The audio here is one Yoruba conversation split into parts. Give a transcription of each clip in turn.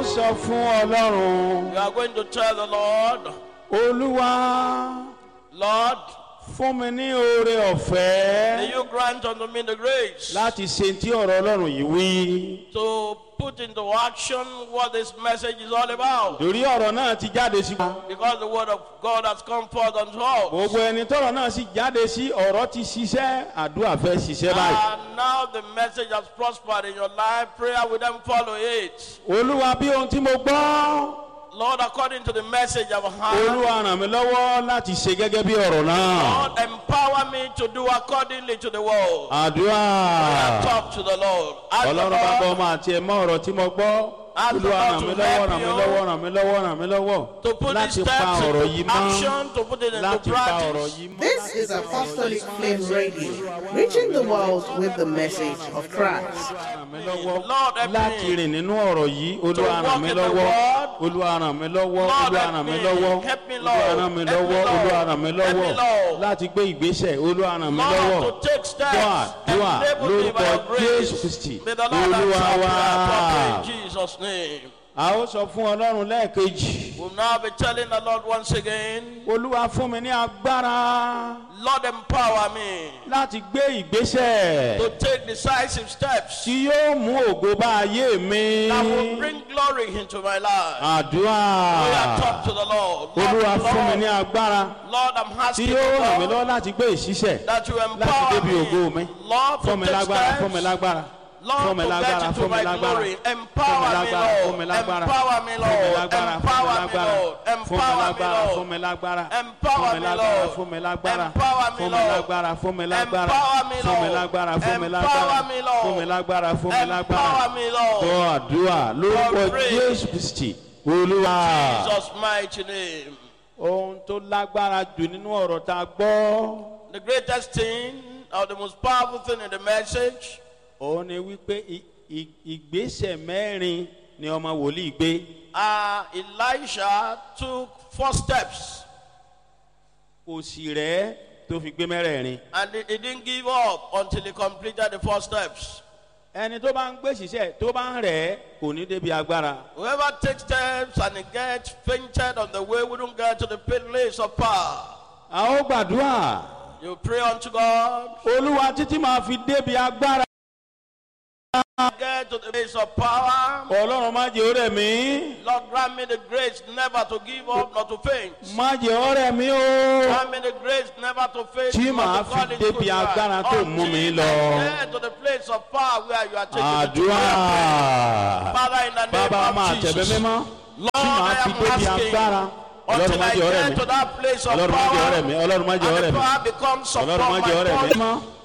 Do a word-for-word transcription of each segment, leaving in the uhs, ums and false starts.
Ó sọ fún Ọlọ́run. You are going to tell the Lord, Olúwa, Lord, fún mi ní oore ọ̀fẹ́ may you grant unto me the grace láti ṣe tí ọ̀rọ̀ Ọlọ́run yìí wí. to put into action what this message is all about. Torí ọ̀rọ̀ náà ti jáde sí. Because the word of God has come forth unto us. Gbogbo ẹni tọ́rọ̀ náà sì jáde sí, ọ̀rọ̀ ti ṣiṣẹ́, àdúrà fẹ́ ṣiṣẹ́ báyìí. And now the message has prospered in your life. Prayer will then follow it. Olúwa, bí ohun tí mo gbọ́. Lord, according to the message I've heard, Olúwa, ràn mí lọ́wọ́ láti ṣe gẹ́gẹ́ bí ọ̀rọ̀ náà. Lord, empower me to do accordingly to the word. Àdúrà. Talk to the Lord. Ask the Ọlọ́run bá gbọ́ Lord ọmọ àti ẹ̀mọ́ ọ̀rọ̀ tí mo gbọ́. Ask the Olúwa, Lord ràn to mí lọ́wọ́, help ràn mí you. lọ́wọ́, ràn mí lọ́wọ́, ràn mí lọ́wọ́ to put these láti pa steps ọ̀rọ̀ yìí into mọ́. action, to put it into Láti pa ọ̀rọ̀ practice. yìí mọ́. This is Apostolic Flame Radio, reaching the world with the message of Christ. Ràn mí lọ́wọ́ Lord, help me láti rìn nínú ọ̀rọ̀ yìí. Olúwa, ràn walk mí in the lọ́wọ́. word. Olúwa, ràn mí lọ́wọ́. Lord, Olúwa, help ràn mí me. lọ́wọ́. Help me, Olúwa, Lord. ràn mí Help me, lọ́wọ́. Lord. Olúwa, ràn mí Help me, lọ́wọ́ Lord. láti gbé ìgbésẹ̀. Olúwa, ràn mí lọ́wọ́. Lord, to take steps. Dúà, dúà Enable me by lórúkọ your grace. Jésù Kristi. May the Lord Olúwa answer wa. prayer properly in Jesus' name. A ó sọ fún Ọlọ́run lẹ́ẹ̀kejì. We'll now be telling the Lord once again, Olúwa, fún mi ní agbára Lord, empower me láti gbé ìgbésẹ̀ to take decisive steps tí yóò mú ògo bá ayé mi. that will bring glory into my life. Àdúrà. We are talk to the Lord. Lord, Olúwa, fún mi ní Lord, agbára Lord, I'm tí asking yóò you, ràn mí Lord, lọ́wọ́ láti gbé ìṣiṣẹ́ that you láti empower débi ògo mi. me. Lord, Fún to mi take lágbára, fún mi steps. lágbára. Fún Lord, mi to get lágbára, into fún mi my lágbára. glory. Fún mi Empower me, lágbára, fún mi Lord. lágbára. Empower me, Fún mi Lord. lágbára, fún mi Empower me, lágbára. Lord. Fún mi Empower me, lágbára, fún Lord. mi lágbára. Empower Fún mi me, lágbára, Lord. fún mi lágbára. Empower me, Fún mi Lord. lágbára, fún mi lágbára. Empower me, Fún mi Lord. lágbára, fún mi Empower lágbára. me, Lord. Fún mi lágbára, fún mi lágbára. Empower me, Lord. Gbọ́ àdúrà lórúkọ pray. Jésù Kristi. Olúwa. Jesus' mighty name. Ohun tó lágbára jù nínú ọ̀rọ̀ tá a gbọ́. The greatest thing or the most powerful thing in the message Òun ni wípé i- i- ìgbésẹ̀ mẹ́rin ni ọmọ wòlíì gbé. uh, Elisha took four steps Kò sì rẹ́ tó fi gbé mẹ́rẹ̀ẹ̀rin. and he, he didn't give up until he completed the four steps. Ẹni tó bá ń gbé ṣiṣẹ́ tó bá ń rẹ̀ kò ní débi agbára. Whoever takes steps and he gets fainted on the way wouldn't get to the place of power. A ó gbàdúrà. You pray unto God, Olúwa, títí máa fi débi agbára. get to the place of power. Ọlọ́run, má jẹ́ ó rẹ̀ mí. Lord, grant me the grace never to give up, not to faint. Má jẹ́ ó rẹ̀ mí o. Grant me the grace never to faint, Tí not màá to fi call it débi good life. agbára tó mú mi Until lọ. I get to the place of power where you are taking me to. Àdúrà. Father, in the name Bàbá, of máa tẹ̀bẹ́ Jesus. mímọ́. Tí Lord, màá I fi am débi asking agbára. Ọlọ́run, until má I jẹ́ ó rẹ̀ get mí. to that place of Ọlọ́run, má jẹ́ ó power rẹ̀ mí. Ọlọ́run, má jẹ́ ó and rẹ̀ the mí. power becomes Ọlọ́run, upon má jẹ́ ó my rẹ̀ mí. body. Tí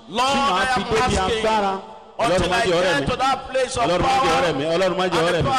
Lord, màá I fi am débi asking agbára. Ọlọ́run, until má I jẹ́ ó rẹ̀ get mí. to that place of Ọlọ́run, má jẹ́ ó power rẹ̀ mí. Ọlọ́run, má jẹ́ ó and rẹ̀ the mí.